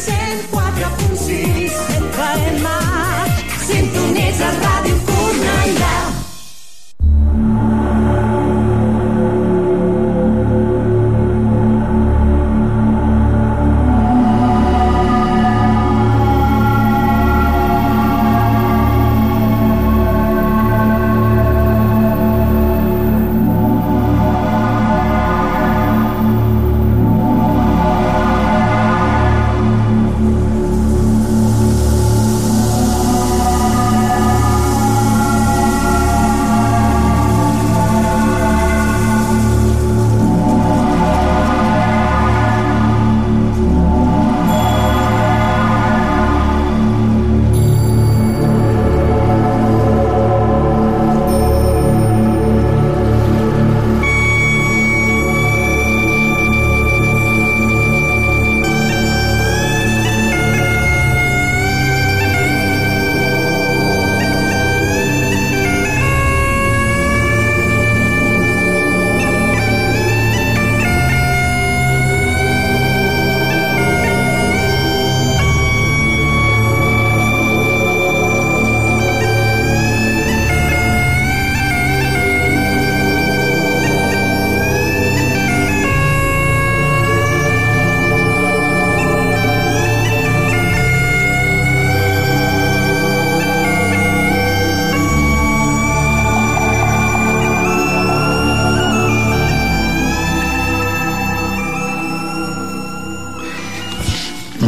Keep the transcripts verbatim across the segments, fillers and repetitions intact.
cent quatre punt sis F M. Sintonitza Ràdio Cornellà.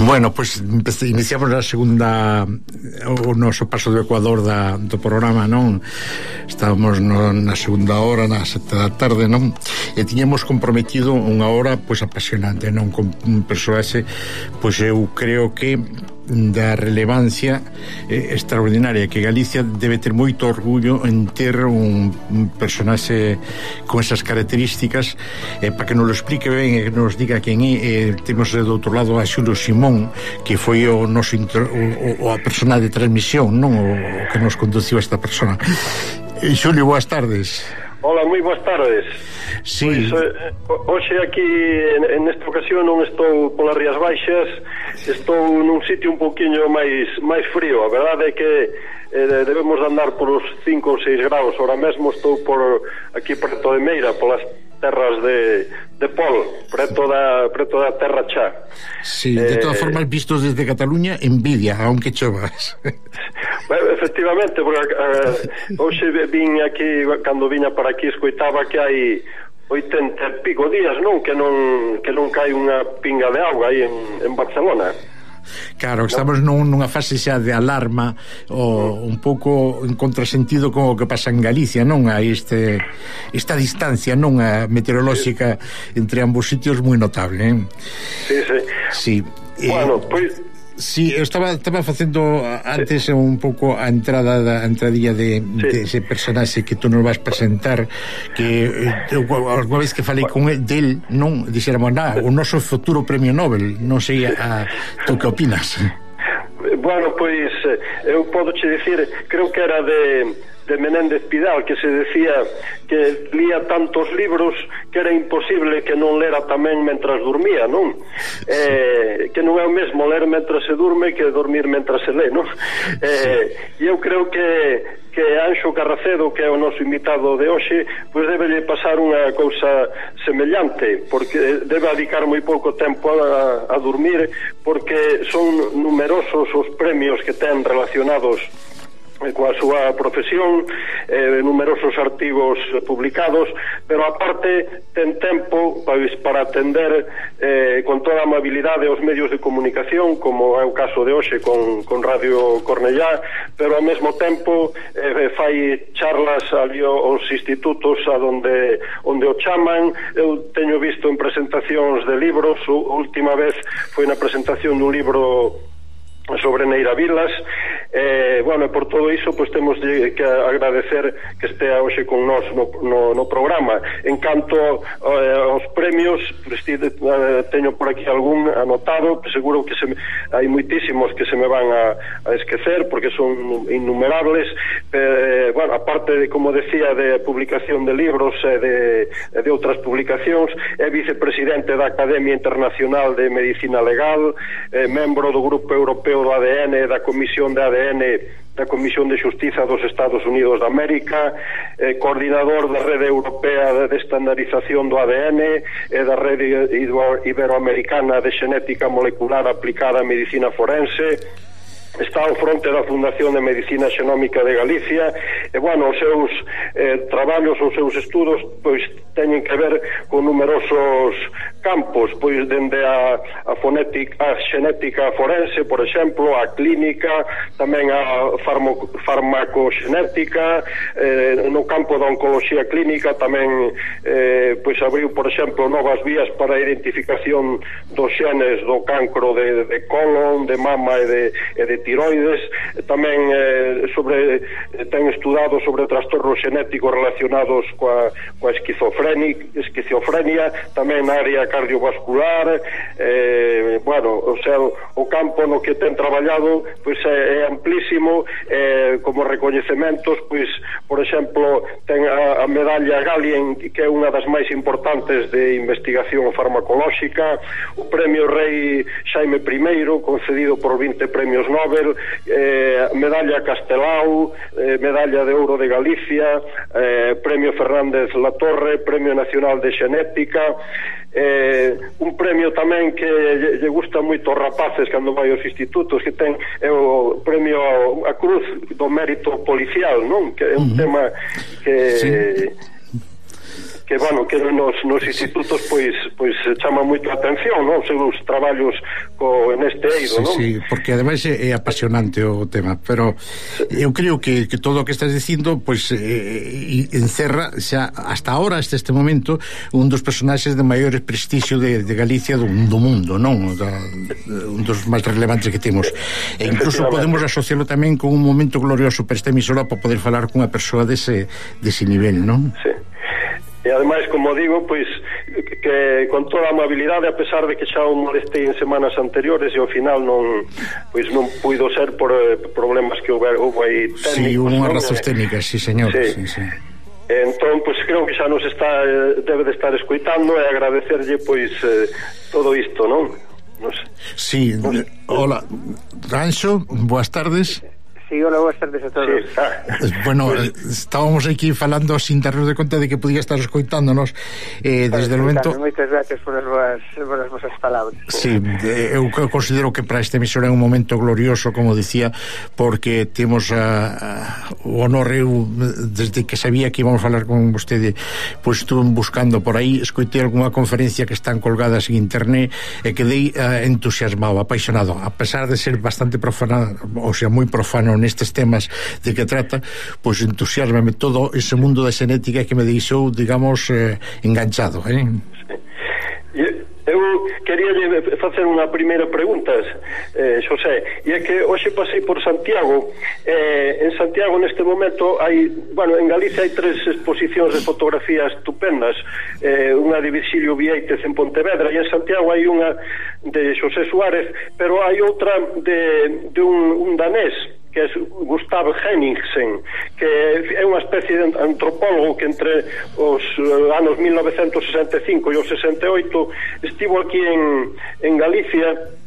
Bueno, pois pues, iniciamos a segunda o noso paso do Ecuador da, do programa, non? Estábamos no, na segunda hora, na sete da tarde, non? E tiñamos comprometido unha hora pois apasionante, non? Con un persoaxe, pois eu creo que da relevancia eh, extraordinaria, que Galicia debe ter moito orgullo en ter un, un personaxe con esas características. Eh, para que nos lo explique ben e que nos diga quen é, eh, temos do outro lado a Xulio Simón, que foi o noso intro, o, o a persona de transmisión, non? O, o que nos conduciu a esta persona. eh, Xulio, boas tardes. Hola, moi boas tardes. Sí. Pois, eh, hoxe aquí en, en esta ocasión non estou polas Rías Baixas, estou nun sitio un poquinho máis máis frío. A verdade é que eh, debemos andar por os cinco ou seis graus. Ahora mesmo estou por aquí preto de Meira, polas terras de, de Pol, preto da, preto da Terra Chá. Sí, de todas eh, formas, vistos desde Cataluña, envidia, aunque chovas. Bueno, efectivamente, porque uh, hoxe vin aquí, cando viña para aquí, escoitaba que hai oitenta e pico días, non? Que non que non cae unha pinga de auga aí en, en Barcelona. Claro, estamos nun, nunha fase xa de alarma, o un pouco en contrasentido con o que pasa en Galicia, non? Hai este, esta distancia, non? A meteorolóxica sí. Entre ambos sitios moi notable, eh? Sí, sí. Sí. Bueno, eh, pois... Sí, eu estaba, estaba facendo antes sí. Un pouco a entrada da a entradilla de, sí. de ese personaxe que tú nos vas presentar, que eh, alguna vez que falei con el, del, non, dixéramos, nada, o noso futuro premio Nobel, non sei a, tú que opinas? Bueno, pois eu podo che dicir, creo que era de de Menéndez Pidal, que se decía que lía tantos libros que era imposible que non lera tamén mentras dormía, non? Sí. Eh, que non é o mesmo ler mentras se durme que dormir mentras se lé, non? Eh, e eu creo que que Anxo Carracedo, que é o noso invitado de hoxe, pois debelle pasar unha cousa semellante, porque debe dedicar moi pouco tempo a, a dormir, porque son numerosos os premios que ten relacionados coa súa profesión, eh, numerosos artigos publicados, pero aparte ten tempo pois, para atender eh, con toda a amabilidade aos medios de comunicación, como é o caso de hoxe con, con Radio Cornellá, pero ao mesmo tempo eh, fai charlas ali aos institutos a donde, onde o chaman. Eu teño visto en presentacións de libros, a última vez foi na presentación dun libro sobre Neira Vilas, eh, bueno, e por todo iso pois temos de, que agradecer que estea hoxe con nós no, no, no programa. En canto eh, aos premios, pues, eh, teño por aquí algún anotado, seguro que se me, hai moitísimos que se me van a, a esquecer porque son innumerables, eh, bueno, aparte de, como decía, de publicación de libros e de, de outras publicacións, é vicepresidente da Academia Internacional de Medicina Legal, eh, membro do Grupo Europeo do A D N, da Comisión de A D N da Comisión de Xustiza dos Estados Unidos de América, eh, coordinador da Rede Europea de Estandarización do A D N e da Rede Iberoamericana de Xenética Molecular Aplicada a Medicina Forense. Está ao fronte da Fundación de Medicina Xenómica de Galicia e, bueno, os seus eh, traballos, os seus estudos pois teñen que ver con numerosos campos, pois dende a, a fonética, a xenética forense, por exemplo, a clínica, tamén a farmo, farmacoxenética, eh, no campo da oncoloxía clínica tamén eh, pois abriu, por exemplo, novas vías para a identificación dos xenes do cancro de, de colon, de mama e de, e de tiroides, tamén eh, sobre ten estudado sobre trastornos xenéticos relacionados coa, coa esquizofrenia, esquizofrenia, tamén na área cardiovascular, eh, bueno, o sea, o campo no que ten traballado pois é, é amplísimo, eh, como recoñecementos, pois, por exemplo, ten a, a medalla Galien, que é unha das máis importantes de investigación farmacolóxica, o premio Rei Xaime primeiro, concedido por vinte premios Nobel, eh, medalla Castelao, eh, medalla de Ouro de Galicia, eh, premio Fernández Latorre, premio Nacional de Xenética, eh, un premio tamén que lle, lle gusta moito aos rapaces cando vai aos institutos, que ten é o premio a Cruz do Mérito Policial, non? Que é un uh-huh. tema que... Sí. que, bueno, que nos, nos institutos pois pois chama moito a atención, non? Os seus traballos co, neste eido, sí, non? Sí, porque ademais é, é apasionante o tema, pero eu creo que, que todo o que estás dicindo pois eh, encerra xa hasta ahora, hasta este momento, un dos personaxes de maiores prestixio de, de Galicia do, do mundo, non? Da, un dos máis relevantes que temos. E incluso podemos asociarlo tamén con un momento glorioso para esta emisora para poder falar cunha persoa dese, dese nivel, non? Sí. E ademais, como digo, pois que con toda a amabilidade, a pesar de que xa o molestei en semanas anteriores e ao final non pois non puido ser por eh, problemas que houve, houve aí técnicos. Sí, unhas razóns técnicas, sí, señor. Sí. Sí, sí. Entón, pois creo que xa nos está debe de estar escoitando e agradecerlle pois eh, todo isto, non? Nos, sí, nos, hola, Ranxo, boas tardes. Sí, hola, boas tardes a todos. Sí, ah. Bueno, pues, estábamos aquí falando sin darnos de conta de que podía estar escoitándonos eh, desde o momento... Moitas gracias por as voas, por as vosas palabras. Sí, eu considero que para este emisor é un momento glorioso, como dicía, porque temos a, a, o honor, eu, desde que sabía que íbamos a falar con vostede, pois pues, estuve buscando por aí, escoitei algunha conferencia que están colgadas en internet e quedei uh, entusiasmado, apaixonado, a pesar de ser bastante profano, ou sea, moi profano nestes temas de que trata, pois entusiasmame todo ese mundo da xenética que me deixou, digamos, eh, enganchado, eh? Eu quería facer unha primeira pregunta, eh, Xosé, e é que hoxe pasei por Santiago, eh, en Santiago neste momento hai, bueno, en Galicia hai tres exposicións de fotografías estupendas, eh, unha de Virxilio Vieites en Pontevedra, e en Santiago hai unha de Xosé Suárez, pero hai outra de, de un, un danés, que é Gustav Henningsen, que é unha especie de antropólogo que entre os anos mil novecentos sesenta e cinco e os sesenta e oito estivo aquí en, en Galicia.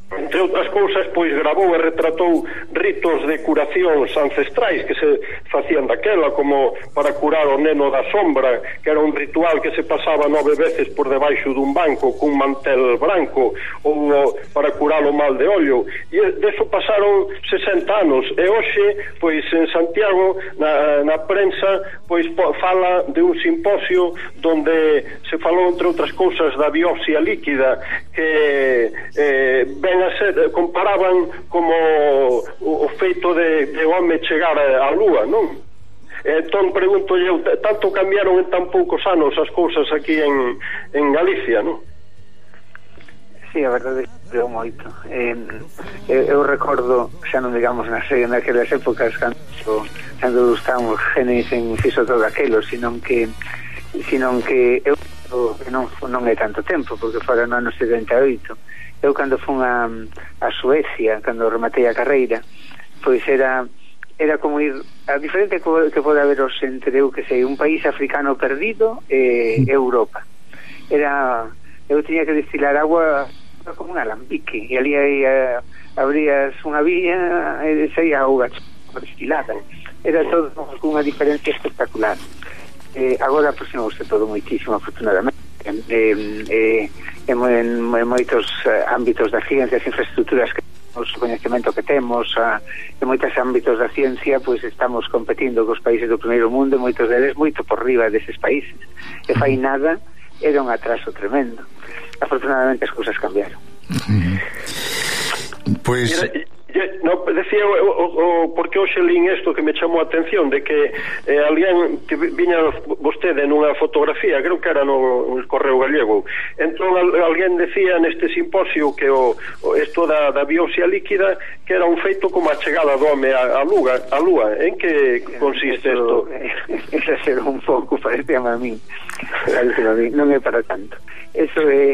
Entre outras cousas, pois gravou e retratou ritos de curacións ancestrais que se facían daquela, como para curar o neno da sombra, que era un ritual que se pasaba nove veces por debaixo dun banco cun mantel branco, ou para curar o mal de ollo. E deso pasaron sesenta anos, e hoxe, pois en Santiago, na, na prensa, pois fala de un simposio donde se falou, entre outras cousas, da biopsia líquida, que eh, ben a ser, comparaban como o, o feito de, de home chegar á lúa, non? Entón pregunto eu, tanto cambiaron en tan poucos anos as cousas aquí en, en Galicia, non? Sí, a verdade é moito. Eh, eu, eu recordo, xa non digamos nas, naquelas épocas cando, cando estábamos genes en fixo todo aquilo, senón que senón que eu non, non é tanto tempo, porque fora no ano setenta e oito. Eu cando fun a, a Suecia, cando rematei a carreira, pois era era como ir a diferente que, que pode haber os entre eu que sei, un país africano perdido e Europa. Era eu tiña que destilar agua como un alambique, e ali aí uh, abrías unha vía e saía auga destilada. Era todo unha diferencia espectacular. Eh, agora aproximouse todo moitísimo, afortunadamente. Eh, eh, en, en, en moitos uh, ámbitos da ciencia, as infraestructuras que temos, o coñecemento que temos, uh, en moitos ámbitos da ciencia, pois estamos competindo cos países do primeiro mundo, e moitos deles moito por riba deses países. E fai nada, era un atraso tremendo. Afortunadamente as cousas cambiaron. Pois no, decía o, o, o porque hoxe lín isto que me chamou a atención de que eh, alguén que viña vostede nunha fotografía, creo que era no, no Correo Gallego, entón al, alguén decía neste simposio que o, o isto da, da biopsia líquida que era un feito como a chegada do home a, a, lúa, a lúa. En que consiste isto? Esa ser un pouco, parece a mí parece a mí, non é para tanto. Eso é,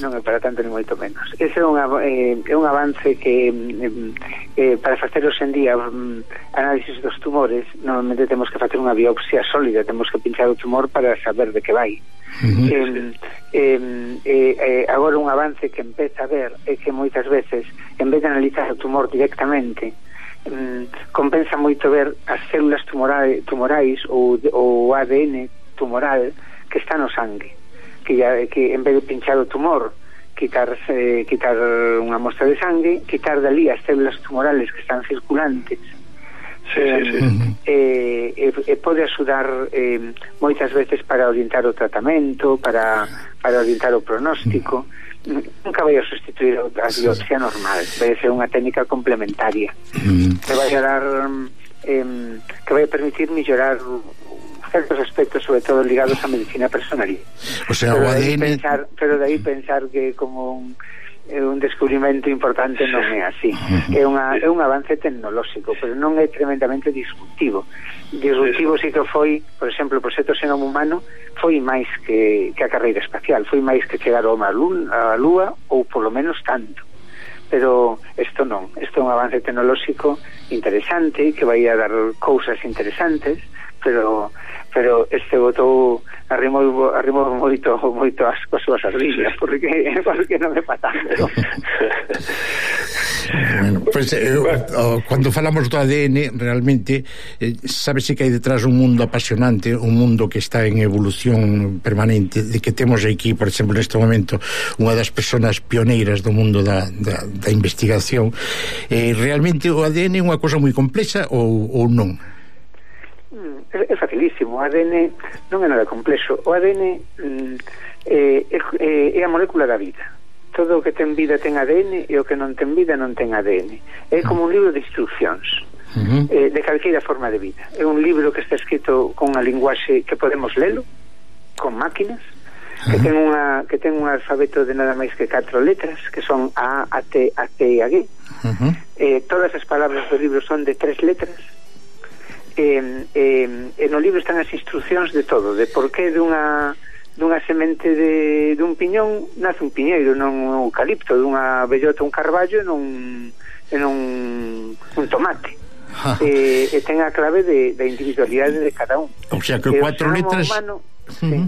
non é para tanto ni moito menos. Ese é un, eh, é un avance que eh, eh, para facer hoxe en día um, análisis dos tumores normalmente temos que facer unha biopsia sólida, temos que pinchar o tumor para saber de que vai. Uh-huh. eh, eh, eh, eh, agora un avance que empeza a ver é que moitas veces en vez de analizar o tumor directamente um, compensa moito ver as células tumorais, tumorais ou o A D N tumoral que está no sangue, que, ya, que en vez de pinchar o tumor quitar, eh, quitar unha mostra de sangue, quitar dali as células tumorales que están circulantes. Sí, eh, sí, sí. Eh, eh, eh, pode axudar eh, moitas veces para orientar o tratamento, para, para orientar o pronóstico. Nunca vai a sustituir a biopsia normal, vai ser unha técnica complementaria que vai a dar eh, que vai a permitir mellorar certos aspectos, sobre todo ligados á medicina personal. O sea, pero o A D N pensar, pero de aí pensar que como un, un descubrimento importante non é así. É unha é un avance tecnolóxico, pero non é tremendamente disruptivo. Disruptivo sí que foi, por exemplo, o proxecto Xenoma Humano foi máis que, que a carreira espacial, foi máis que chegar ao a Lúa, ou polo menos tanto. Pero isto non, isto é un avance tecnolóxico interesante que vai a dar cousas interesantes, pero pero este botou arrimou arrimou moito moito as cousas as líneas porque porque non é patando. Bueno, pues eh, oh, cuando falamos do A D N realmente eh, sabese que hai detrás un mundo apasionante, un mundo que está en evolución permanente, de que temos aquí, por exemplo, neste momento unha das persoas pioneiras do mundo da, da, da investigación. Eh, realmente o A D N é unha cosa moi complexa ou, ou non? É, é facilísimo. O A D N non é nada complexo. O A D N mm, é, é, é a molécula da vida. Todo o que ten vida ten A D N e o que non ten vida non ten A D N. É como un libro de instruccións uh-huh. eh, de calqueira forma de vida. É un libro que está escrito con unha linguaxe que podemos lelo con máquinas, uh-huh. que ten unha que ten un alfabeto de nada máis que catro letras, que son A, A, T, A, C e A, G. Uh-huh. Eh, todas as palabras do libro son de tres letras. Eh, eh, e no libro están as instruccións de todo, de por que dunha dunha semente de dun piñón nace un piñeiro, non un eucalipto, dunha bellota un carballo, non en un, un tomate. e, e ten a clave de, de individualidade de cada un. O sea que e cuatro letras humano, uh-huh. sí.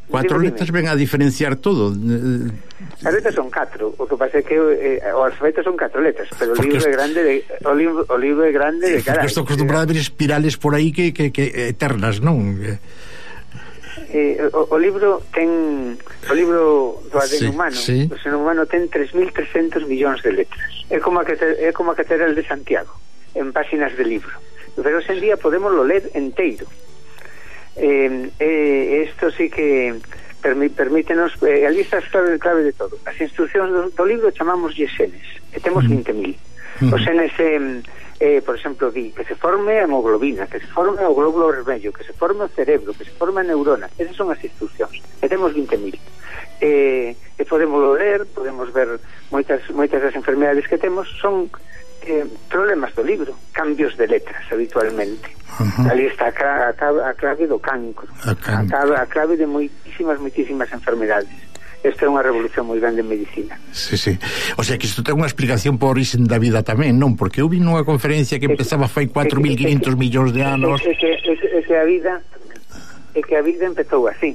Cuatro dime, letras dime. Ven a diferenciar todo. As letras son catro. O que pasa é que eh, o alfabeto son catro letras, pero o libro é grande de, o, libro, o libro é grande de cara. Estou acostumbrado a ver espirales por aí que, que, que eternas, non? Eh, o, o libro ten o libro do A D N sí, humano, sí. O Xenoma Humano ten tres mil trescentos millóns de letras. É como a que é como a catedral de Santiago en páxinas de libro. Pero hoxe en día podemos lo ler enteiro. Eh, eh, esto sí que permi, permítenos, eh, a lista é clave, clave de todo. As instruccións do, do libro chamamos genes, e temos vinte mil. Mm. Os genes, eh, eh, por exemplo, di que se forme a hemoglobina, que se forme o glóbulo vermello, que se forme o cerebro, que se forme a neurona. Esas son as instruccións, e temos vinte mil. Eh, e podemos ler, podemos ver moitas, moitas das enfermedades que temos son eh, problemas do libro, cambios de letras habitualmente. Uh-huh. Ali está a, a, a clave do cancro, a, can... a, a clave de moitísimas, moitísimas enfermedades. Esta é unha revolución moi grande en medicina. Sí, sí. O sea que isto ten unha explicación por orixen da vida tamén, non? Porque eu vi nunha conferencia que empezaba fai catro mil quinhentos millóns de anos. É que, é, que, é que a vida é que a vida empezou así.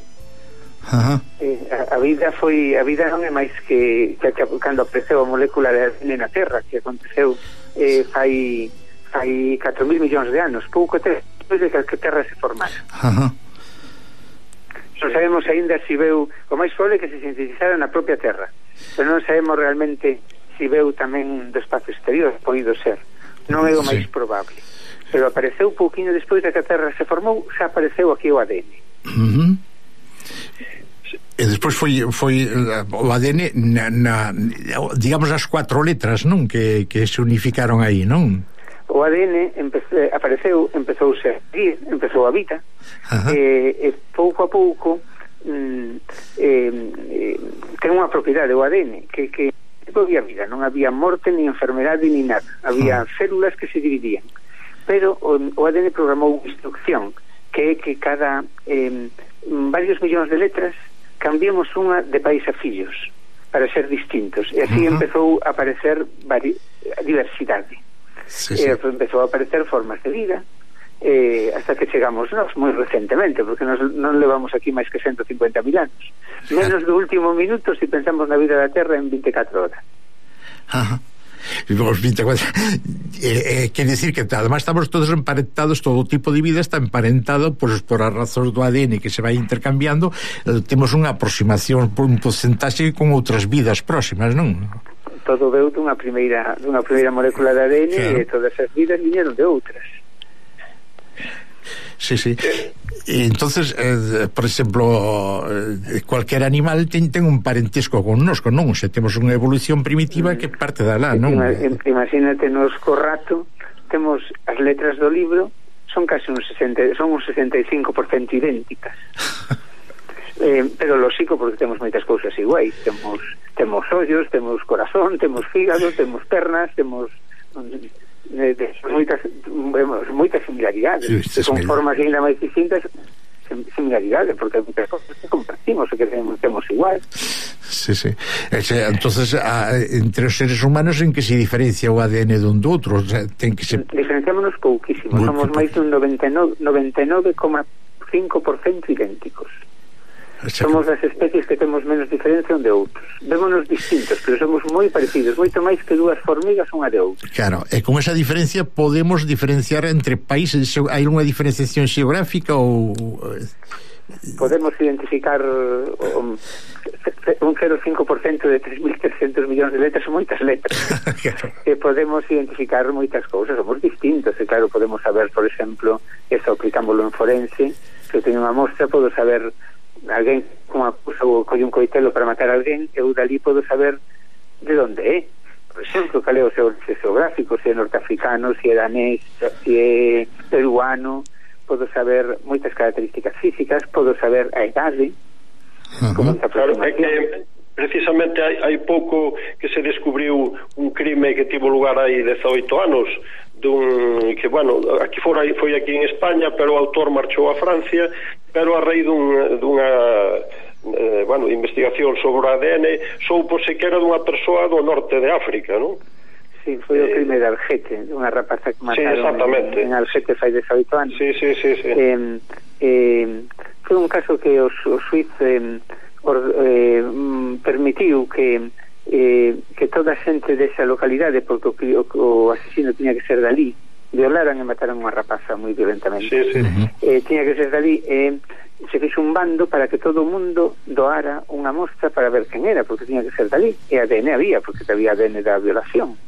Uh-huh. Eh, a, a vida foi a vida non é máis que, que, que cando apareceu a molécula de A D N na Terra, que aconteceu eh, fai fai catro mil millóns de anos, pouco despois de que a Terra se formara. Uh-huh. Non sabemos aínda se veu, o máis probable que se sintetizara na propia Terra, pero non sabemos realmente se veu tamén do espacio exterior, podido ser, non é o máis sí. probable, pero apareceu pouquinho despois de que a Terra se formou, xa apareceu aquí o A D N. Uh-huh. E despois foi foi o A D N na, na, digamos as cuatro letras, non? Que, que se unificaron aí, non? O A D N empece, apareceu, empezou a seguir, empezou a vida, e, e pouco a pouco mm, eh, eh, ten unha propiedade o A D N que, que non había vida, non había morte ni enfermedade ni nada, había uh-huh. células que se dividían, pero o, o A D N programou unha instrucción que é que cada eh, varios millóns de letras cambiemos unha de pais a fillos para ser distintos, e así uh-huh. empezou a aparecer vari, a diversidade. Sí, sí. E empezou a aparecer formas de vida, eh, hasta que chegamos nós moi recentemente, porque nos non levamos aquí máis que ciento cincuenta mil anos, menos do último minuto se si pensamos na vida da Terra en veinticuatro horas. Ajá. Os veinticuatro eh, eh, quer decir que además estamos todos emparentados, todo tipo de vida está emparentado pues, por as razóns do A D N que se vai intercambiando, eh, temos unha aproximación por un porcentaxe con outras vidas próximas, non? Todo veu dunha primeira dunha primeira molécula de A D N, claro. E todas as vidas viñeron de outras. Sí, sí. E entonces, eh, por exemplo, eh, cualquier animal ten, ten un parentesco con nosco, non? Se temos unha evolución primitiva que parte da lá, non? Imagínate, nos co rato temos as letras do libro son casi un sesenta, son un sesenta e cinco por ciento idénticas. Eh, pero lógico, porque temos moitas cousas iguais, temos temos ollos, temos corazón, temos fígado, temos pernas, temos eh, de, moitas moitas similaridades, sí, con formas ainda máis distintas, similaridades, porque moitas cousas que compartimos e que temos, temos igual. Sí, sí. Ese, entonces, a, entre os seres humanos en que se diferencia o A D N dun do outro, o sea, ten que se... Diferenciámonos pouquísimo, somos máis dun noventa e nove coma cinco por ciento idénticos. Somos das especies que temos menos diferencia un de outros. Vémonos distintos, pero somos moi parecidos, moito máis que dúas formigas unha de outra. Claro, e con esa diferencia podemos diferenciar entre países. Hai unha diferenciación xeográfica ou... Podemos identificar um, un cero coma cinco por ciento de tres mil trescentos millóns de letras, son moitas letras. Claro. E podemos identificar moitas cousas, somos distintos, e claro, podemos saber, por exemplo, eso aplicámoslo en forense, se eu teño unha mostra, podo saber alguén con unha cousa ou colle un coitelo para matar a alguén, eu dali podo saber de onde é, por exemplo, cal é o seu geográfico, se é norteafricano, se é danés, se é peruano, podo saber moitas características físicas, podo saber a idade. Uh-huh. Como claro, é que precisamente hai, hai pouco que se descubriu un crime que tivo lugar hai dezaoito anos, dun, que bueno, aquí fora, foi aquí en España, pero o autor marchou a Francia, pero a raíz dun, dunha eh, bueno, investigación sobre o A D N soupose que era dunha persoa do norte de África, non? Sí, foi o crime de Algete, unha rapaza que mataron sí, en, en Algete fai dezaoito anos. Sí, sí, sí, sí. Eh, eh, foi un caso que o, o Suiz eh, or, eh, permitiu que eh, que toda a xente desa localidade, porque o, o asesino tiña que ser dali, violaran e mataran unha rapaza moi violentamente. Sí, sí. Eh, tiña que ser dali e eh, se fixo un bando para que todo o mundo doara unha mostra para ver quen era, porque tiña que ser dali, e A D N había, porque había A D N da violación.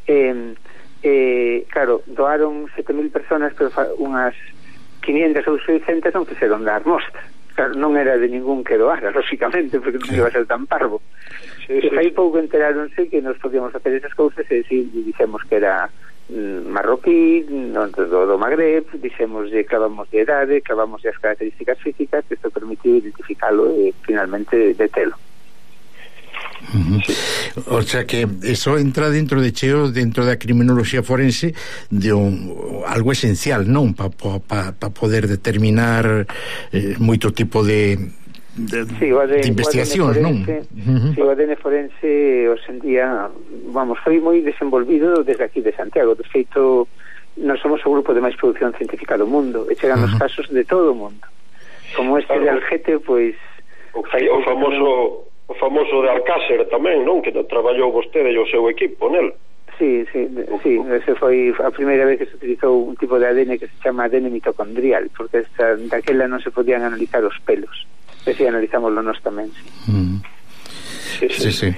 Eh, eh, claro, doaron sete mil personas, pero unhas quinientas ou seiscentas non quixeron dar mostra. claro, non era de ningún que doara, lógicamente, porque non iba a ser tan parvo. Sí, sí, aí pouco enteráronse que nos podíamos facer esas cousas e si dixemos que era mm, marroquí, no, do, do Magreb, dixemos de clavamos de edade, clavamos de as características físicas, que isto permitiu identificalo e finalmente detelo. Uh-huh. Sí. O sea que eso entra dentro de cheo, dentro da criminoloxía forense, de un, algo esencial, non? Para pa, pa poder determinar eh, moito tipo de de, sí, de, de investigacións, non? Uh-huh. Si, o A D N forense hoxe en día, vamos, foi moi desenvolvido desde aquí de Santiago. De feito, nós somos o grupo de máis produción científica do mundo e chegan uh-huh. os casos de todo o mundo. Como este claro. de Algete, pois o, o famoso o famoso de Alcácer tamén, non? Que traballou vostede e o seu equipo nel. Sí, sí, sí, ese foi a primeira vez que se utilizou un tipo de A D N que se chama A D N mitocondrial, porque esta, daquela non se podían analizar os pelos. Ese analizámoslo nós tamén, sí. Mm. Sí, sí. sí, sí.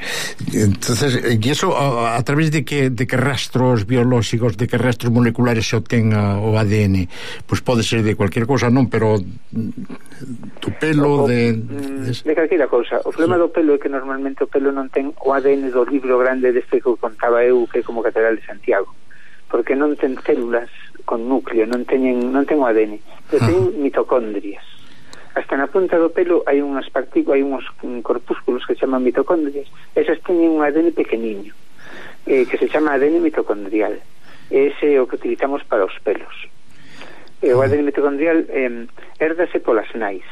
Entonces, e iso a, a través de que de que rastros biolóxicos, de que rastros moleculares se obtenga o A D N, pois pues pode ser de cualquier cosa, non, pero do pelo, o, de, de de calquera cousa. O problema sí. do pelo é que normalmente o pelo non ten o A D N do libro grande deste que contaba eu, que é como Catedral de Santiago, porque non ten células con núcleo, non teñen non ten o A D N, pero ah. ten mitocondrias. Hasta na punta do pelo hai unhas partículas, hai uns corpúsculos que se chaman mitocondrias. Esas teñen un A D N pequeniño, eh, que se chama A D N mitocondrial. Ese é o que utilizamos para os pelos. E o A D N mitocondrial eh, herdase polas nais.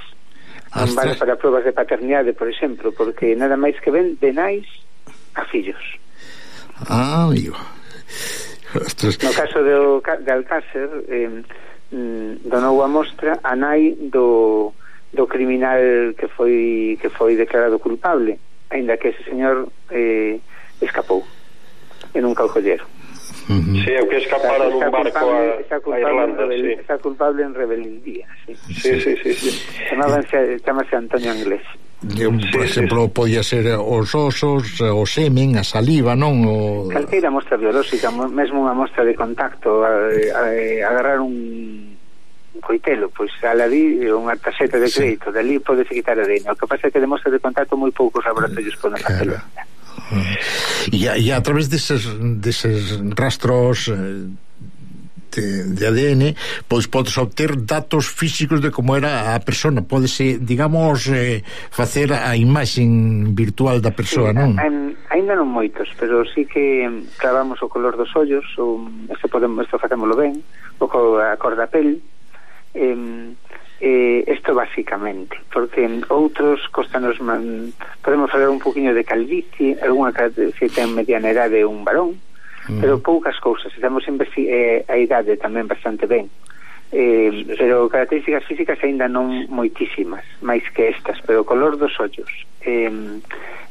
Non vale para pruebas de paternidade, por exemplo, porque nada máis que ven de nais a fillos. Ah, amigo. Ostras. No caso de, de Alcácer, eh, donou a mostra a nai do do criminal que foi que foi declarado culpable, aínda que ese señor eh, escapou e nunca o colleron. Uh-huh. Sí, o que escapara nun barco a, a Irlanda, rebel, sí. Está culpable en rebeldía, sí. Sí, sí, sí, sí. Chamábanse, chamase Antonio Anglés. Por sí, exemplo, sí. podía ser os osos, o semen, a saliva, non? O... Calqueira mostra biolóxica, mesmo unha mostra de contacto, a, a, a agarrar un coitelo, pois aladí unha tarxeta de crédito, sí. dali pode se quitar a D N. O que pasa é que de mostra de contacto moi poucos laboratorios poden facelo. E a, e a través deses, deses rastros de, de A D N, pois podes obter datos físicos de como era a persona. Podese, digamos, eh, facer a imaxen virtual da persoa, sí, non? En, ainda non moitos, pero sí que clavamos o color dos ollos, o, este, podemos, este facémolo ben, o a cor da pel. Eh, eh, esto basicamente, porque en outros costanos man, podemos falar un poquinho de calvicie, algunha que ten mediana edade un varón, mm. pero poucas cousas. Estamos investi- eh, a idade tamén bastante ben, eh, pero características físicas aínda non moitísimas, máis que estas, pero o color dos ollos e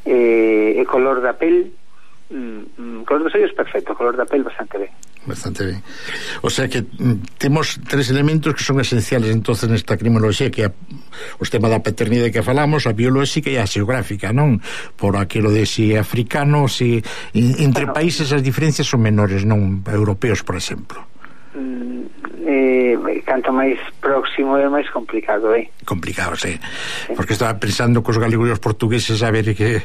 eh, eh, color da pel, mm, color dos ollos perfecto, color da pel bastante ben. Bastante ben. O sea que mm, temos tres elementos que son esenciales entonces nesta criminoloxía, que é o tema da paternidade que falamos, a biolóxica e a xeográfica, non? Por aquilo de si africano, si entre bueno, países as diferencias son menores, non europeos, por exemplo. Mm, eh, canto máis próximo é máis complicado, eh? Complicado, sí. sí. Porque estaba pensando que os galegos e os portugueses a ver que...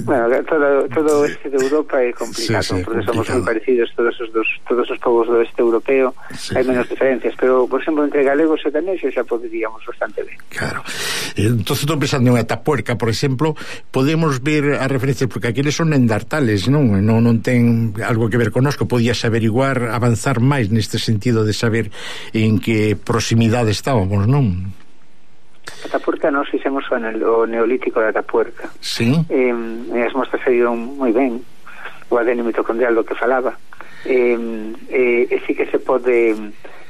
bueno, todo, todo o este de Europa é complicado, sí, sí, porque complicado. Somos moi parecidos todos os dos, todos os povos do este europeo, sí. Hai menos diferencias, pero, por exemplo, entre galegos e daneses xa poderíamos bastante ben. Claro. Entonces, estou pensando en Atapuerca, por exemplo, podemos ver a referencia, porque aqueles son endartales, non? Non, non ten algo que ver conosco, podías averiguar, avanzar máis neste sentido de saber en que proximidade estábamos, non? Atapuerca nós fixemos o, o neolítico de Atapuerca. Sí. Eh, as mostras saíron moi ben, o A D N mitocondrial do que falaba. Eh, eh, e sí que se pode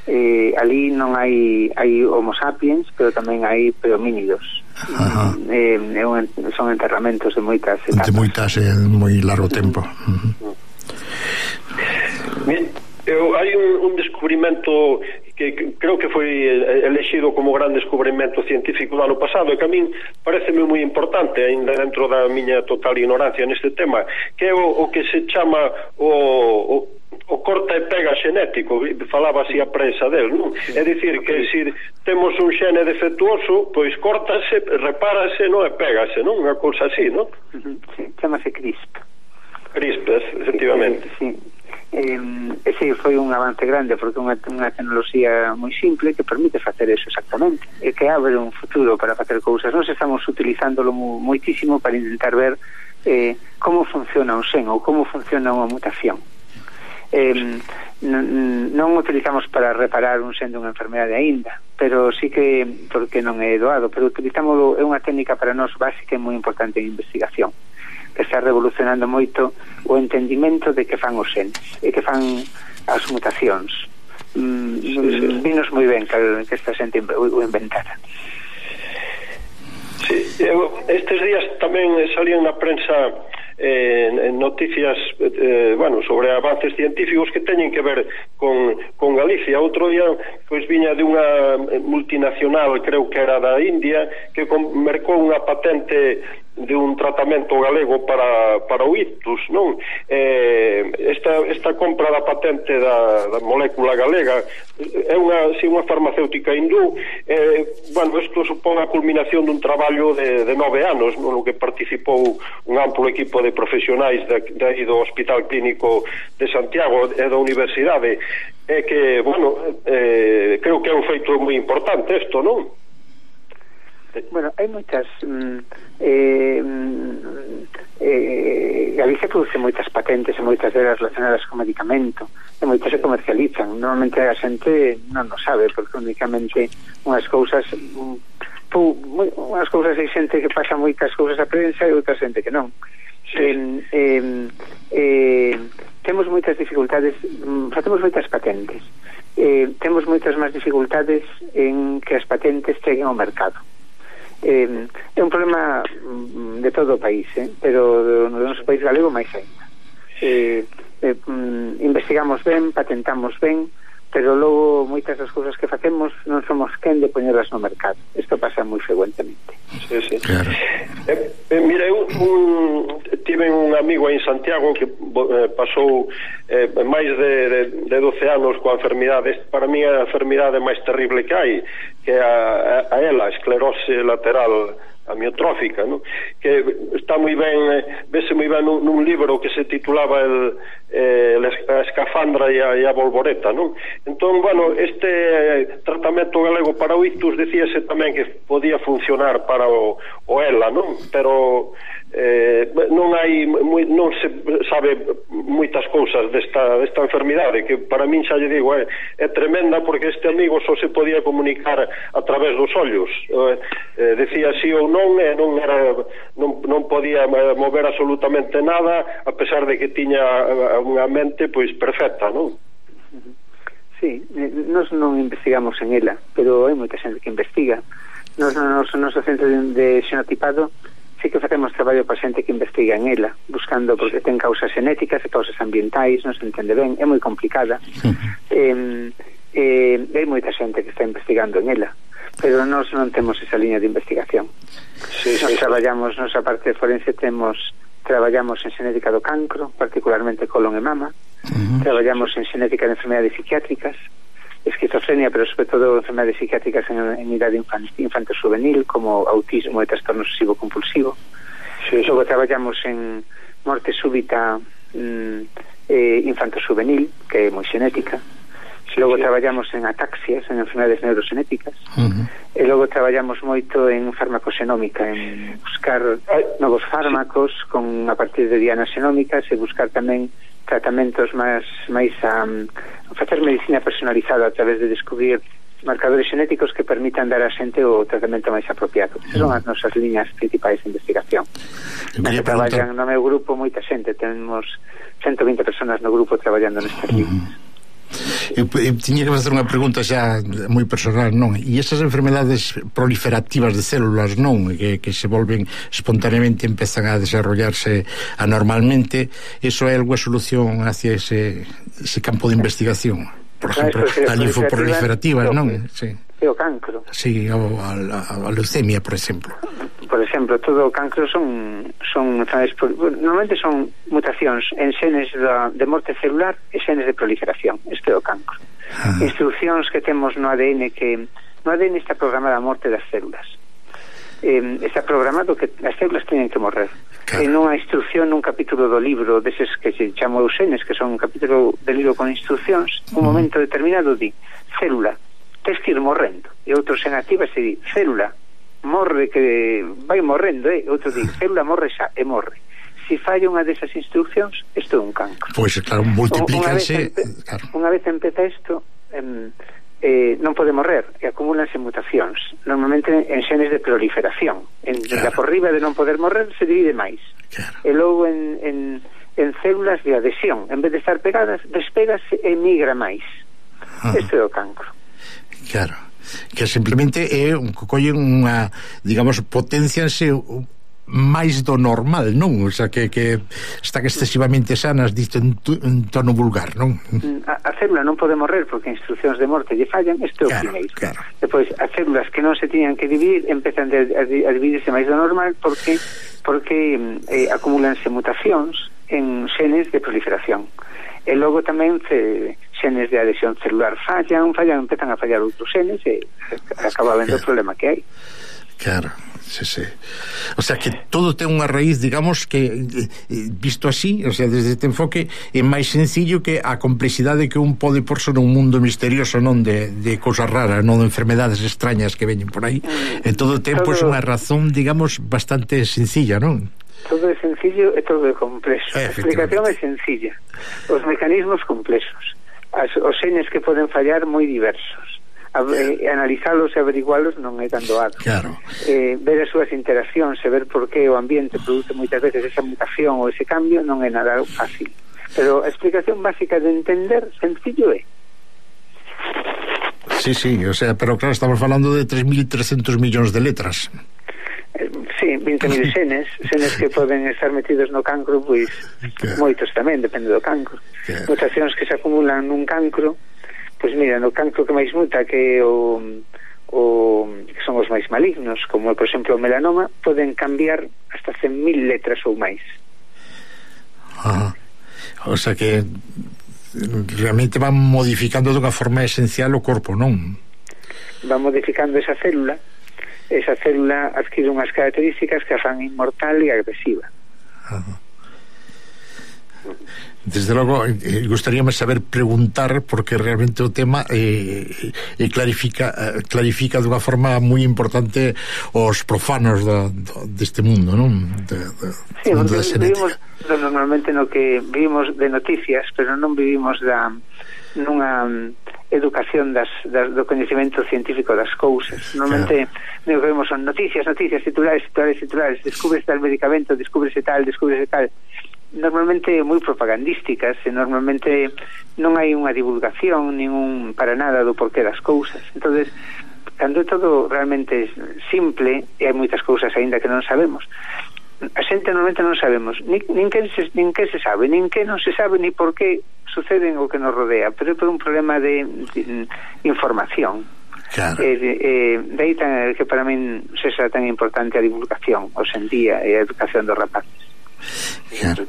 eh, ali non hai hai homo sapiens, pero tamén hai prehomínidos. Eh, un, son enterramentos de moitas etapas. De moitas, eh, moi largo tempo. Uh-huh. Bien. Eu, hai un, un descubrimento que, que creo que foi elexido como gran descubrimento científico do ano pasado e que a min pareceme moi importante ainda dentro da miña total ignorancia neste tema, que é o, o que se chama o, o, o o corta e pega xenético, falaba así a prensa del, non? É dicir que se temos un xene defectuoso, pois córtase, repárase, non, e pégase, non? Unha cousa así, non? Sí, chamase CRISP. CRISP, efectivamente. Sí, eh, ese foi un avance grande porque é unha, unha tecnoloxía moi simple que permite facer eso exactamente e que abre un futuro para facer cousas. Nos estamos utilizándolo moitísimo para intentar ver eh, como funciona un sen ou como funciona unha mutación. Eh, non utilizamos para reparar un sen dunha enfermedade aínda, pero sí que, porque non é doado, pero utilizámoslo, é unha técnica para nós básica e moi importante en investigación, que está revolucionando moito o entendimento de que fan os senes e que fan as mutacións. Mm, sí, sí. Vinos moi ben que, que esta xente o inventara. Sí, eu, estes días tamén salían na prensa eh, noticias eh, bueno, sobre avances científicos que teñen que ver con, con Galicia. Outro día pois viña de unha multinacional, creo que era da India, que mercou unha patente de un tratamento galego para, para o ictus, non? Eh, esta, esta compra da patente da, da molécula galega é unha, si, unha farmacéutica hindú. Eh, bueno, isto supón a culminación dun traballo de, de nove anos, no que participou un amplo equipo de profesionais de, de, do Hospital Clínico de Santiago e da Universidade. É que, bueno, eh, creo que é un feito moi importante isto, non? Bueno, hai moitas mm, eh, eh, Galicia produce moitas patentes e moitas delas relacionadas con medicamento e moitas se comercializan. Normalmente a xente non o sabe porque únicamente unhas cousas pu, moi, unhas cousas hai xente que pasa moitas cousas a prensa e outra xente que non. eh, eh, eh, temos moitas dificultades, facemos moitas patentes, eh, temos moitas máis dificultades en que as patentes cheguen ao mercado. Eh, é un problema de todo o país, eh? pero no noso país galego máis ainda. Eh, eh, investigamos ben, patentamos ben, pero logo moitas das cousas que facemos non somos quen de poñelas no mercado. Isto pasa moi frecuentemente. Sí, sí. Claro. Eh, eh, mira, eu un, tive un amigo en Santiago que eh, pasou eh, máis de, de, de doce anos coa enfermidade. Para mí é a enfermidade máis terrible que hai, que é a, a, a ela, a esclerose lateral amiotrófica, ¿no? Que está moi ben, vese moi ben nun, nun libro que se titulaba el, eh, a escafandra e a, e a bolboreta, ¿no? Entón, bueno, este tratamento galego para o ictus decíase tamén que podía funcionar para o, o ela, ¿no? Pero eh, non hai moi, non se sabe moitas cousas desta, desta enfermidade, que para min xa lle digo é, é tremenda, porque este amigo só se podía comunicar a través dos ollos, eh, eh, decía sí ou non, e non era non, non podía mover absolutamente nada, a pesar de que tiña unha mente pois perfecta, non? Sí, nós non investigamos en ela, pero hai moita xente que investiga. Nos no noso centro de xenotipado sí que facemos traballo para xente que investiga en ela, buscando, porque ten causas genéticas e causas ambientais, non se entende ben, é moi complicada. eh, eh, hai moita xente que está investigando en ela, pero nós non temos esa liña de investigación. Sí, nos sí, traballamos, sí. Nosa parte forense temos, traballamos en xenética do cancro, particularmente colon e mama, uh-huh. Traballamos en xenética de enfermedades psiquiátricas, esquizofrenia, pero sobre todo enfermedades psiquiátricas en, en idade infanto-juvenil, como autismo e trastorno obsesivo-compulsivo. Sí, sí. Logo traballamos en morte súbita mm, eh, infanto-juvenil, que é moi xenética. Logo sí. Traballamos en ataxias, en enfermedades neuroxenéticas. Uh-huh. E logo traballamos moito en farmacoxenómica, en buscar novos fármacos con a partir de dianas xenómicas e buscar tamén tratamentos máis máis a um, facer medicina personalizada a través de descubrir marcadores xenéticos que permitan dar a xente o tratamento máis apropiado. Esas son as nosas liñas principais de investigación. Que traballan no meu grupo moita xente, temos ciento vinte personas no grupo traballando nestas liñas. Eu, eu tiña que facer unha pregunta xa moi personal, non? E esas enfermedades proliferativas de células, non? Que, que se volven espontaneamente, empezan a desarrollarse anormalmente, eso é algo solución hacia ese, ese campo de investigación? Por exemplo, a linfoproliferativas, non? Sí. E o cancro. Sí, o a, a, a leucemia, por exemplo. Por exemplo, todo o cancro son son normalmente son mutacións en xenes da, de morte celular e xenes de proliferación. Isto é o cancro. Ah. Instruccións que temos no A D N, que no A D N está programada a morte das células. Eh, está programado que as células teñen que morrer. Claro. En unha instrucción, nun capítulo do libro deses que se chama os genes, que son un capítulo de libro con instruccións, un mm. momento determinado di célula, tens que ir morrendo, e outro se activa se di célula morre, que vai morrendo, eh? Outro di, célula morre xa e morre. Si falla unha desas instruccións, isto é un cancro. Pois, pues, claro, multiplícanse. Unha, claro. Unha vez empeza isto, eh, eh, non pode morrer, e acumúlanse mutacións, normalmente en xenes de proliferación. En, claro. Da por riba de non poder morrer, se divide máis. Claro. E logo en, en, en células de adhesión, en vez de estar pegadas, despégase e migra máis. Ah. Isto é o cancro. Claro. Que simplemente é un colle unha, digamos, potencianse máis do normal, non? O sea, que, que están excesivamente sanas, dito en, en tono vulgar, non? A, a célula non pode morrer porque instruccións de morte lle fallan, isto é o claro, primeiro. Claro. Depois, as células que non se tiñan que dividir empezan a, a, a dividirse máis do normal porque porque eh, acumúlanse mutacións en xenes de proliferación. E logo tamén se, xenes de adhesión celular fallan, fallan, empezan a fallar outros xenes e acaba vendo claro. O problema que hai. Claro, sí, sí. O sea que todo ten unha raíz, digamos, que visto así, o sea, desde este enfoque é máis sencillo que a complexidade que un pode porse nun mundo misterioso, non de, de cousas raras, non de enfermedades extrañas que veñen por aí. Mm, en todo ten, pois, pues, unha razón, digamos, bastante sencilla, non? Todo é sencillo e todo é complexo. A explicación é sencilla. Os mecanismos complexos. As, os xenes que poden fallar moi diversos. A, eh, analizalos e averigualos non é tan doado. Claro. Eh, ver as súas interaccións e ver por que o ambiente produce moitas veces esa mutación ou ese cambio non é nada fácil. Pero a explicación básica de entender sencillo é. Sí, sí, o sea, pero claro, estamos falando de tres mil trescentos millóns de letras. Sí, vinte mil xenes, xenes que poden estar metidos no cancro, pois claro. Moitos tamén, depende do cancro. Claro. Mutacións que se acumulan nun cancro, pois mira, no cancro que máis muta, que o, o que son os máis malignos, como por exemplo o melanoma, poden cambiar hasta cen mil letras ou máis. Ajá. O sea que realmente van modificando dunha forma esencial o corpo, non? Van modificando esa célula. Esa célula adquire unhas características que a fan inmortal e agresiva. Ajá. Desde logo, eh, gustaríame saber preguntar, porque realmente o tema eh, eh, clarifica eh, clarifica dunha forma moi importante os profanos do, do, deste mundo, non? De, de, sí, mundo da vivimos normalmente no que vivimos de noticias, pero non vivimos da nunha educación das, das, do coñecemento científico das cousas. Normalmente claro. Vemos son noticias, noticias, titulares, titulares, titulares, descubres tal medicamento, descubres tal, descubres tal. Normalmente moi propagandísticas e normalmente non hai unha divulgación ningún para nada do porqué das cousas. Entonces, cando é todo realmente simple e hai moitas cousas aínda que non sabemos, a xente normalmente non sabemos nin, nin, que se, nin que se sabe, nin que non se sabe, ni por que suceden o que nos rodea, pero é por un problema de, de información. Claro. Eh, eh, de aí tan, que para min sexa tan importante a divulgación hoxe en día e a educación dos rapaces. Claro.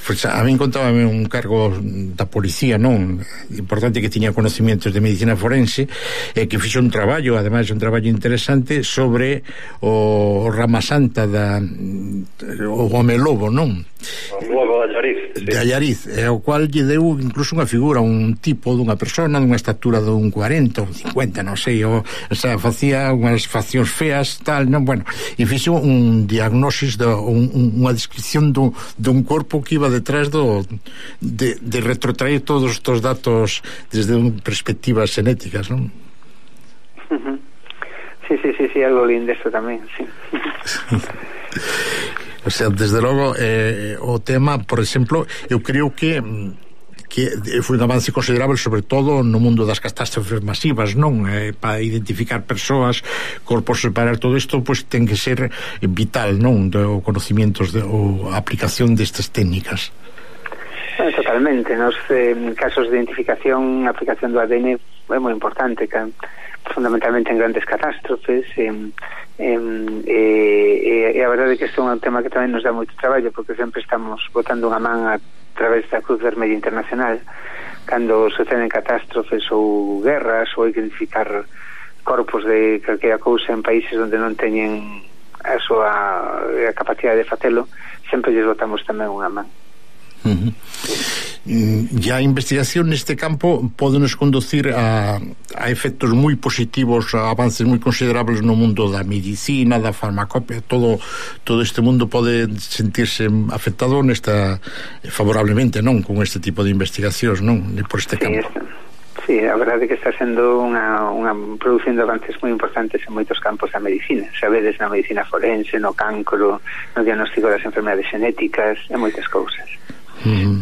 Pues a mí contábame un cargo da policía, non? Importante, que tiña conocimientos de medicina forense e que fixo un traballo, ademais un traballo interesante sobre o Rama Santa da o home lobo, non? O lobo de Allariz, sí. De Allariz, e ao cual lle deu incluso unha figura, un tipo dunha persona dunha estatura dun cuarenta ou cincuenta, non sei, o, o sea, facía unhas faccións feas, tal, non, bueno, e fixo un diagnosis de un, unha descripción dun, dun corpo que iba detrás do de, de retrotraer todos estos datos desde un perspectivas xenéticas, non? Uh-huh. Sí, sí, sí, sí, algo lindo eso tamén, sí. O sea, desde logo eh, o tema, por exemplo, eu creo que que foi un avance considerable, sobre todo no mundo das catástrofes masivas, non? Eh, para identificar persoas, corpos, separar todo isto, pois pues, ten que ser vital, non? O conocimientos de, ou a aplicación destas técnicas. Eh, totalmente, nos eh, casos de identificación, a aplicación do A D N é moi importante, que, fundamentalmente en grandes catástrofes, e, e, e a verdade é que isto é un tema que tamén nos dá moito traballo, porque sempre estamos botando unha man a través da Cruz Vermella Internacional cando suceden catástrofes ou guerras, ou hai que identificar corpos de calquera cousa en países onde non teñen a súa a capacidade de facelo, sempre lles botamos tamén unha man. Uh-huh. E a investigación neste campo pódenos conducir a, a efectos moi positivos, a avances moi considerables no mundo da medicina, da farmacopea, todo todo este mundo pode sentirse afectado nesta favorablemente, non, con este tipo de investigacións, non, por este campo. Sí, sí, a verdade é que está sendo unha, unha producindo avances moi importantes en moitos campos da medicina, sabedes, na medicina forense, no cancro, no diagnóstico das enfermedades genéticas e moitas cousas. Mm.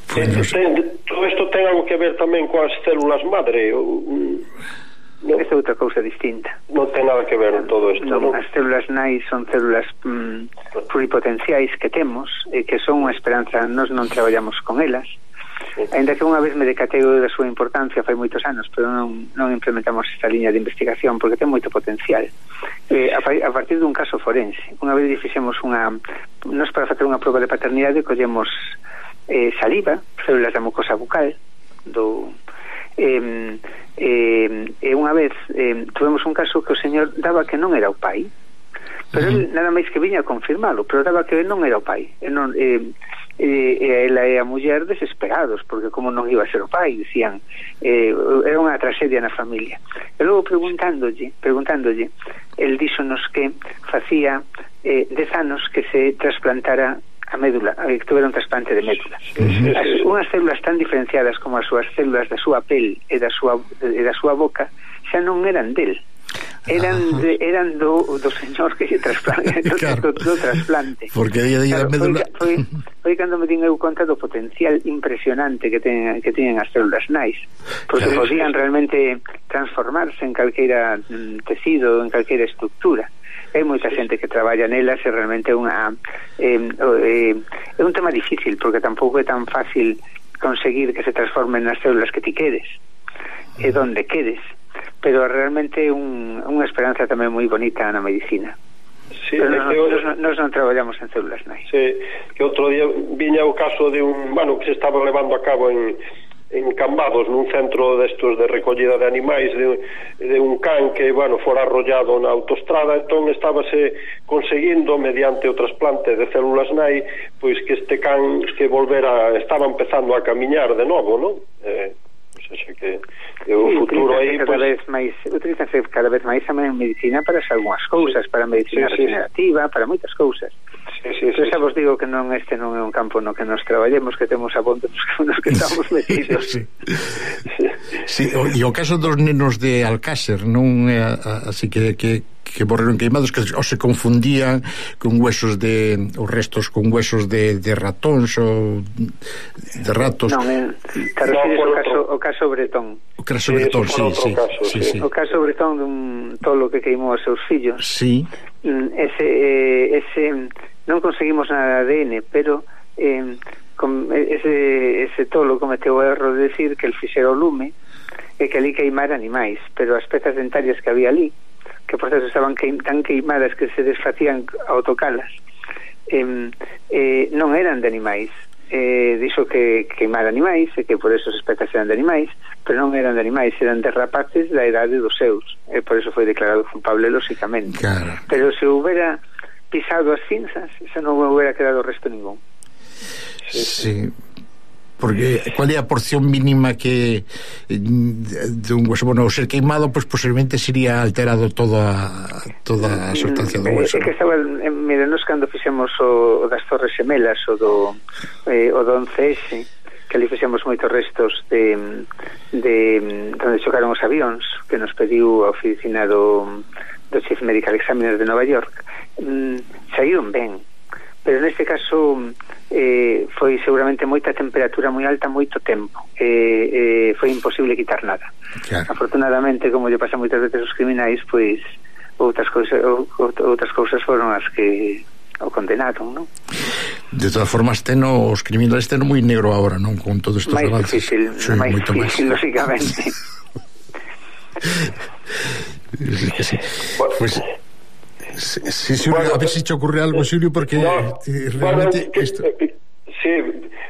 Pues no sé. ten, todo isto ten algo que ver tamén coas células madre ou, no, esta é outra cousa distinta, non ten nada que ver en todo isto, non, non? As células nai son células mm, pluripotenciais que temos e que son unha esperanza, nós non traballamos con elas, ainda que unha vez me decatei da súa importancia fai moitos anos, pero non, non implementamos esta liña de investigación porque ten moito potencial. Eh, a, a partir dun caso forense, unha vez fixemos unha, nós para facer unha proba de paternidade collemos eh, saliva, células da mucosa bucal do eh, eh, e unha vez eh, tuvemos un caso que o señor daba que non era o pai, pero uh-huh. ele nada máis que viña a confirmalo, pero daba que non era o pai, e non eh, e, e ela e a muller desesperados porque como non iba a ser o pai, dicían eh, era unha tragedia na familia, e logo preguntándolle preguntándolle el díxonos que facía eh, dez anos que se trasplantara a médula, que tuvera un trasplante de médula. Uh-huh. As, unhas células tan diferenciadas como as súas células da súa pel e da súa, e da súa boca xa non eran del, eran de, eran do, do señor que se trasplante, do, claro. do, do trasplante, porque aí claro, a médula foi, foi, foi cando me din eu conta do potencial impresionante que ten, que teñen as células nais, porque claro. podían realmente transformarse en calqueira mm, tecido, en calqueira estructura. Hai moita xente que traballa nelas e realmente é unha eh, eh, é un tema difícil porque tampouco é tan fácil conseguir que se transformen nas células que ti queres e donde queres, pero realmente é un, unha esperanza tamén moi bonita na medicina. Sí, pero nos, eu, nos, nos non traballamos en células nai. Sí, que outro día viña o caso de un, bueno, que se estaba levando a cabo en en Cambados, nun centro destos de recollida de animais de, de un can que, bueno, fora arrollado na autostrada, entón estábase conseguindo mediante o trasplante de células nai, pois que este can que volvera, estaba empezando a camiñar de novo, non? Eh, sexa que, que o sí, futuro aí cada pues... vez máis, utilizase cada vez máis tamén en medicina para algunhas cousas, sí, para medicina sí, regenerativa, sí, para moitas cousas. Sí, sí, sí, xa vos digo que non este non é un campo no que nos traballemos, que temos a ponte nos que estamos metidos. Sí, sí. Sí, o, e o caso dos nenos de Alcácer non é así que, que que morreron queimados, que o se confundían con huesos de os restos con huesos de, de ratóns ou de ratos. Non, eh, te refires ao caso, o caso Bretón. O caso Bretón, sí, sí, caso, sí, sí. sí. O caso Bretón dun tolo que queimou os seus fillos. Sí. Ese eh, ese non conseguimos nada de A D N, pero eh, con ese ese tolo cometeu o erro de decir que el fixera o lume e que ali queimara animais, pero as pezas dentarias que había ali, que por eso estaban queim, tan queimadas que se desfacían ao tocalas, eh, eh, non eran de animais. Eh, dixo que queimar animais e que por eso as pezas eran de animais, pero non eran de animais, eran de rapaces da idade dos seus, e por eso foi declarado culpable lóxicamente. Claro. Pero se houbera pisado as cinzas, xa non houbera quedado resto ningún. Sí, sí. Porque cual é a porción mínima que de un hueso, bueno, ao ser queimado, pues posiblemente sería alterado toda toda a sustancia do hueso. É que estaba, mira, nos cando fixemos o, o das Torres Gemelas, o do eh, o do once ese, que ali fixemos moitos restos de, de donde chocaron os avións, que nos pediu a oficina do, do Chief Medical Examiner de Nova York, mm, saíron ben, pero neste caso eh, foi seguramente moita temperatura moi alta moito tempo, eh, eh, foi imposible quitar nada. Claro. Afortunadamente, como lle pasa moitas veces os criminais, pois outras cousas outras cousas foron as que o condenaron, non? De todas formas, teno os criminales teno moi negro agora, non? Con todos estos máis avances. difícil, sí, máis moito difícil, máis. lógicamente. Sí, que sí. Bueno, pues, sí, sí, Xulio, bueno, a ver se si te ocurre algo, Xulio, porque no, eh, realmente bueno, que, esto... sí,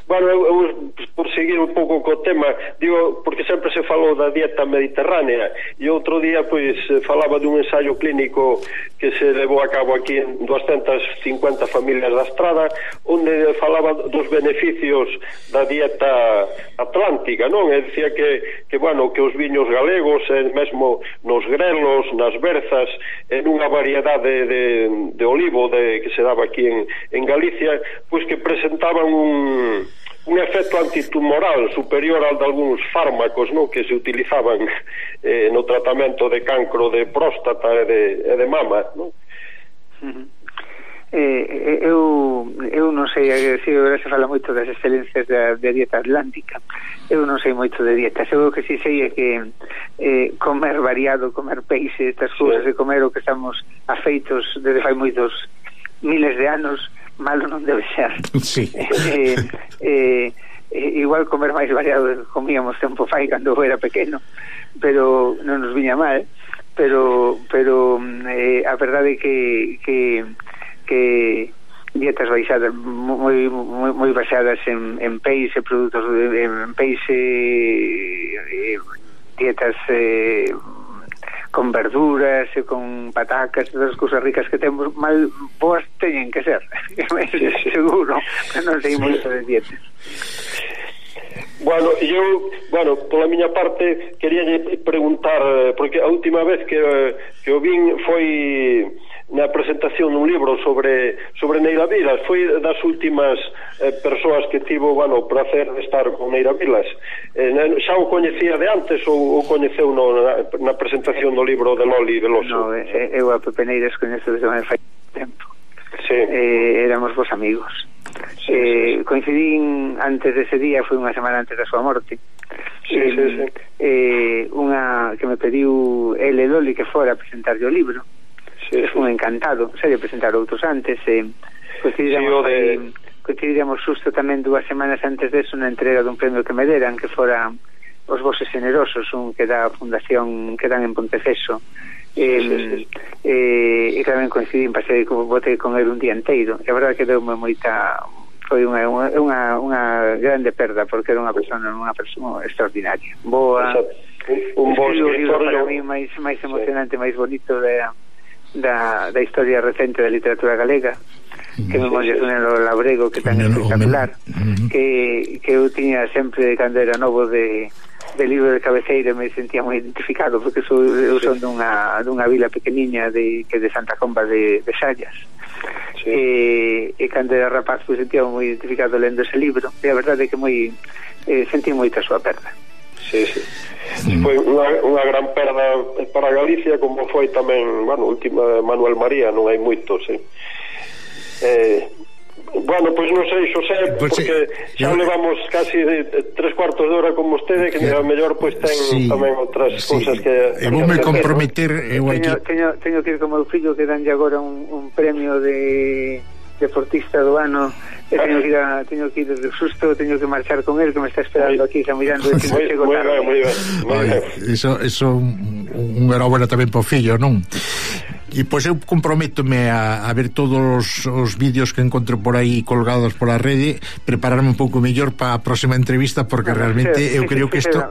bueno, eu, eu, por seguir un pouco co tema, digo, porque sempre se falou da dieta mediterránea, e outro día pois falaba dun ensaio clínico que se levou a cabo aquí en doscientas cincuenta familias da Estrada, onde falaba dos beneficios da dieta atlántica, non? E dicía que, que bueno, que os viños galegos, e mesmo nos grelos, nas berzas, en unha variedade de, de olivo de, que se daba aquí en, en Galicia, pois que presentaban un, un efecto antitumoral superior ao de algúns fármacos, non, que se utilizaban eh, no tratamento de cancro de próstata e de, e de mama, non? Uh-huh. Eh, eu eu non sei, si agora se fala moito das excelencias da, da dieta atlántica. Eu non sei moito de dietas. Eu o que si sei é que eh, comer variado, comer peixe, estas cousas, sí, de comer o que estamos afeitos desde fai moitos miles de anos, malo non debe ser. Sí. eh, eh, eh, igual comer máis variado do que comíamos tempo fai cando eu era pequeno, pero non nos viña mal. Pero pero eh, a verdade é que que que dietas baixadas moi moi moi baseadas en en peixe, produtos de, en peixe, eh, dietas eh, con verduras e con patacas, todas as cousas ricas que temos, mal boas teñen que ser. Seguro, que non sei moito de dietas. Bueno, eu, bueno, pola miña parte quería preguntar, porque a última vez que, que o vin foi na presentación dun libro sobre sobre Neira Vilas, foi das últimas eh, persoas que tivo, bueno, o placer de estar con Neira Vilas. Eh, xa o coñecía de antes ou o coñeceu no, na, na presentación do libro de Loli Veloso? No, eh, eu a Pepe Neiras coñezo desde moi fai tempo. Sí. Eh, éramos vos amigos. Sí, eh, sí, sí. Coincidín antes dese día, foi unha semana antes da súa morte. Sí, eh, sí, sí. Eh, unha que me pediu ele Loli que fora a presentarlle o libro. Sí, Fui sí. encantado, se lle presentar outros antes, eh, coincidíamos, sí, de... eh, coincidíamos xusto tamén dúas semanas antes deso na entrega dun premio que me deran, que fora os Voces Generosos, un que dá a fundación que dan en Ponteceso. Eh, sí, sí. Eh, e tamén coincidín, pasei, botei con el un día inteiro, e a verdade que deume moita, foi unha, unha, unha grande perda, porque era unha persona unha persona extraordinaria, boa. Un bo escritor, para mí máis máis emocionante, sí, máis bonito da Da, da historia recente da literatura galega, que me Memorias dun Labrego, que tan espectacular, que, que eu tiña sempre cando era novo de, de libro de cabeceira, me sentía moi identificado, porque sou, eu son dunha, dunha vila pequeniña de, que de Santa Comba de, de Sallas. Sí. E, e cando era rapaz me sentía moi identificado lendo ese libro, e a verdade é que moi eh, sentí moita a súa perda. Sí, sí. Mm. Foi unha, unha gran perda para Galicia, como foi tamén, bueno, última Manuel María, non hai moitos, sí. Eh, bueno, pois non sei, Xosé, pues porque sí, xa yo... levamos casi de, de tres cuartos de hora con vostede, que a mellor pois ten sí, tamén outras sí, cousas que... Eu vou me comprometer... Eu teño, aquí... teño, teño que ir como meu fillo, que danlle agora un, un premio de deportista do ano, e teño que ir a, teño que ir de susto, teño que marchar con él, que me está esperando aquí, xa mirando de que non chego tarde. Moi ben, moi ben. Iso, iso un, un enhorabuena tamén po fillo, non? E pois eu comprométome a, a ver todos os, os vídeos que encontro por aí colgados por a rede, prepararme un pouco mellor para a próxima entrevista, porque no, realmente fixe, eu creo que isto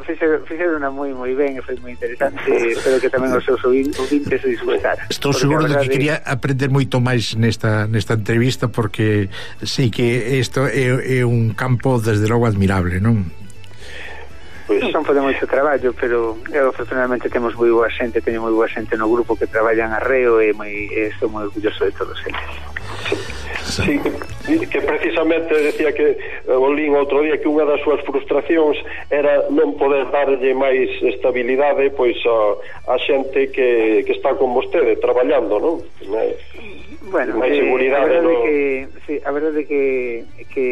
fixeron moi moi ben, e foi moi interesante, espero que tamén os seus ouvintes se disgustaran. Estou seguro de que quería aprender moito máis nesta nesta entrevista, porque sei que isto é, é un campo desde logo admirable, non? Pois son por moito traballo, pero eu afortunadamente temos moi boa xente, teño moi boa xente no grupo que traballan arreo, e moi, estou moi orgulloso de todos eles. Sí, que, que precisamente decía que o lín outro día que unha das súas frustracións era non poder darlle máis estabilidade pois a, a xente que, que está con vostede traballando, non? Bueno, máis eh, seguridade, a verdade no... que sí, a verdade que que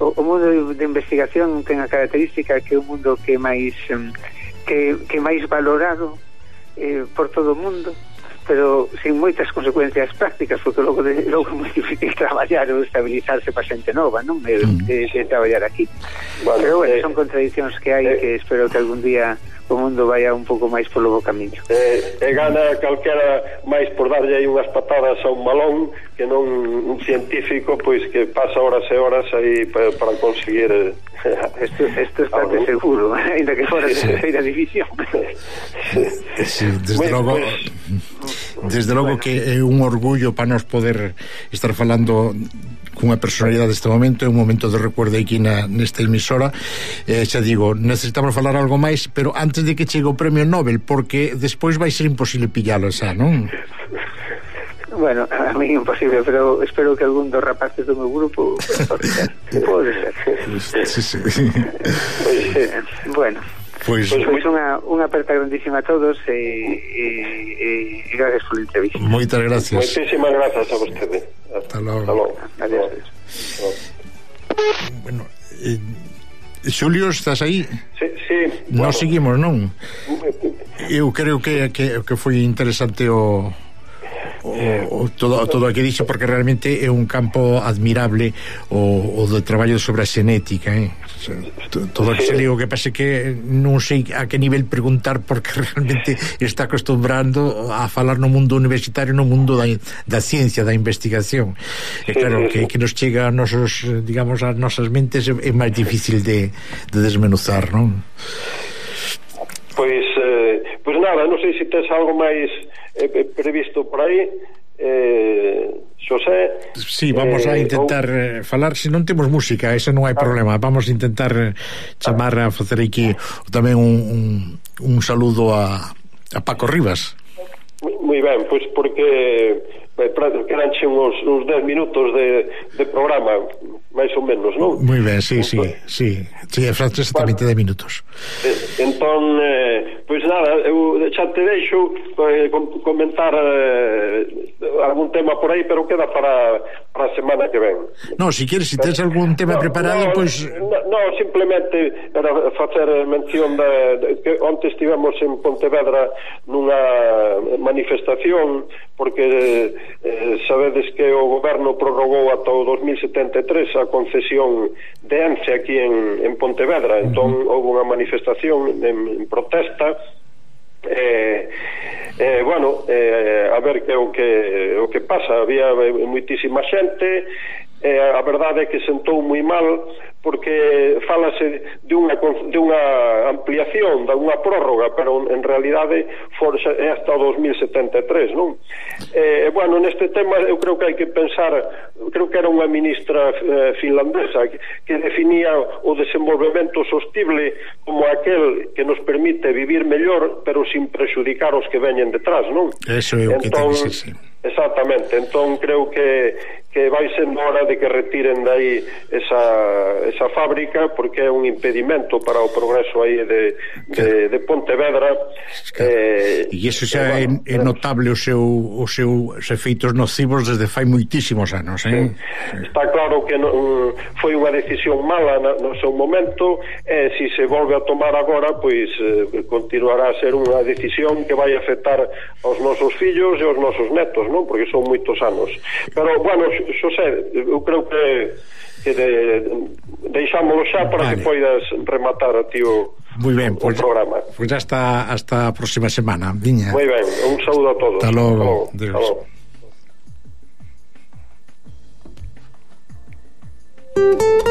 o, o mundo de investigación ten a característica que é un mundo que máis que, que máis valorado eh, por todo o mundo, pero sin moitas consecuencias prácticas, porque logo, de, logo é moi difícil traballar ou estabilizarse para xente nova, non? De, de, de traballar aquí. Bueno, pero bueno, eh, son contradiccións que hai, eh, que espero que algún día o mundo vaya un pouco máis polo bo camiño. Eh, e gana calquera máis por darlle aí unhas patadas a un balón que non un científico pois que pasa horas e horas aí para, para conseguir Esto, esto está de seguro, ainda que fora de terceira división. Sí, desde logo desde logo que é un orgullo para nos poder estar falando cunha personalidade deste momento, é un momento de recuerdo aquí na, nesta emisora. Eh, xa digo, necesitamos falar algo máis, pero antes de que chegue o premio Nobel, porque despois vai ser imposible pillalo xa, non? Bueno, a mí imposible, pero espero que algún dos rapaces do meu grupo pode ser. Pode ser. Sí, sí. Eh, bueno, pois pues, pues unha, unha aperta grandísima a todos e, e, e gracias por la entrevista. Moitas gracias. Moitísimas gracias a vostede. Hasta logo. Hasta logo. Adiós. Bueno, eh, Xulio, estás aí? Sí, sí. Nos bueno. seguimos, non? Eu creo que, que, que foi interesante o O, o, todo, todo o que dixo, porque realmente é un campo admirable o, o do traballo sobre a xenética, eh? Todo o que se ligo, que pase que non sei a que nivel preguntar, porque realmente está acostumbrando a falar no mundo universitario, no mundo da, da ciencia, da investigación, e claro, que, que nos chega a nosos, digamos, a nosas mentes é máis difícil de, de desmenuzar, non? Pois, eh, pois nada, non sei se tes algo máis eh, previsto por aí, eh, Xosé. Sí, vamos eh, a intentar ou... falar, se non temos música, ese non hai problema, vamos a intentar chamar a facer aquí tamén un, un, un saludo a, a Paco Rivas. Moi ben, pois porque quedanche uns, uns dez minutos de, de programa, máis ou menos, non? Moi ben, sí, sí, sí, sí, exactamente de minutos. Entón, eh, pois nada, eu xa te deixo eh, comentar eh, algún tema por aí, pero queda para, para a semana que ven. No, si queres, si tens algún tema no, preparado, no, pois... No, no, simplemente para facer mención de, de que onte estivemos en Pontevedra nunha manifestación, porque eh, sabedes que o goberno prorrogou ata o dos mil setenta e tres a concesión de Ence aquí en, en Pontevedra. Entón uh-huh. houve unha manifestación en, en protesta, eh, eh, bueno, eh, a ver que o que o que pasa. Había moitísima xente, eh, a verdade é que sentou moi mal, porque falase de unha, de unha ampliación, de unha prórroga, pero en realidade for, é hasta o dos mil setenta e tres, non? Eh, bueno, neste tema eu creo que hai que pensar, creo que era unha ministra eh, finlandesa que, que definía o desenvolvemento sostible como aquel que nos permite vivir mellor, pero sin prexudicar os que veñen detrás, non? Eso é o que te dice, sí. Exactamente, entón creo que que vai sendo hora de que retiren de aí esa, esa fábrica, porque é un impedimento para o progreso aí de, de, de Pontevedra. Claro. Eh, e iso xa é, bueno, é notable o seu, o seu os efeitos nocivos desde fai moitísimos anos, eh? Sí. Está claro que non, foi unha decisión mala no, no seu momento, e se se volve a tomar agora, pois eh, continuará a ser unha decisión que vai afectar aos nosos fillos e aos nosos netos, non? Porque son moitos anos. Pero, bueno, Xosé, eu creo que, que de, deixámoslo xa para vale. que poidas rematar a ti o, Muy ben, o pues, programa. Pois pues hasta, hasta a próxima semana, Viña. Moi ben, un saúdo a todos. Hasta logo. Hasta logo. Hasta logo.